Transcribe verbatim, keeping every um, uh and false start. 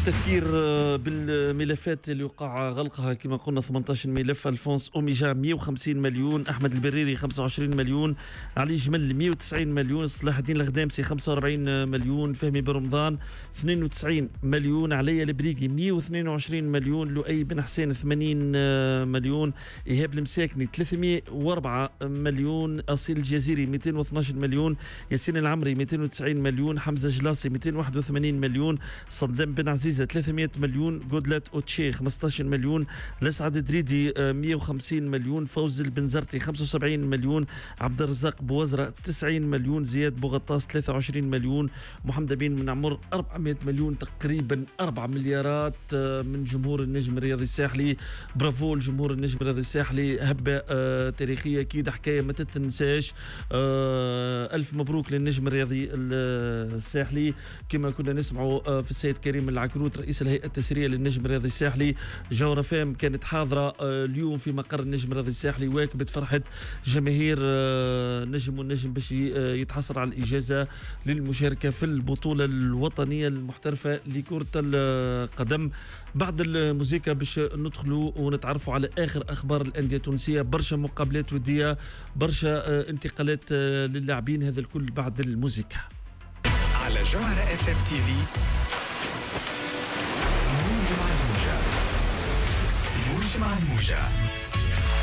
التذكير بالملفات اللي وقع غلقها كما قلنا ثمانية عشر ملف. الفونس اوميجا مئة وخمسين مليون، احمد البريري خمسة وعشرين مليون، علي جمل مئة وتسعين مليون، صلاح الدين الغدامسي خمسة وأربعين مليون، فهمي برمضان اثنين وتسعين مليون، علي البريقي مئة واثنين وعشرين مليون، لؤي بن حسين ثمانين مليون، ايهاب المساكني ثلاثمئة وأربعة مليون، اصيل الجزيري مئتين واثناش مليون، ياسين العمري مئتين وتسعين مليون، حمزة جلاسي مئتين وواحد وثمانين مليون، صدام بن عزيزة ثلاثمئة مليون، جودلات أوتشي خمسة عشر مليون، لسعد دريدي مئة وخمسين مليون، فوز البنزرتي خمسة وسبعين مليون، عبد الرزاق بوزرة تسعين مليون، زياد بوغطاس ثلاثة وعشرين مليون، محمد أمين من عمر أربعمئة مليون، تقريبا أربعة مليارات من جمهور النجم الرياضي الساحلي. برافو لجمهور النجم الرياضي الساحلي، هبة تاريخية أكيد، حكاية ما تتنساش. ألف مبروك للنجم الرياضي الساحلي. كما كنا نسمعوا في السيد كريم العكروت رئيس الهيئة التسييرية للنجم الرياضي الساحلي، جوهرة فام كانت حاضرة اليوم في مقر النجم الرياضي الساحلي، واكبت فرحة جماهير نجم والنجم باش يتحصل على الإجازة للمشاركة في البطولة الوطنية المحترفة لكرة القدم. بعد الموسيقى باش ندخلوا ونتعرفوا على آخر أخبار الأندية التونسية، برشا مقابلات ودية، برشا انتقالات للاعبين، هذا الكل بعد الموسيقى على جوهرة اف ام تي في. موجة مع الموجة، موجة مع الموجة.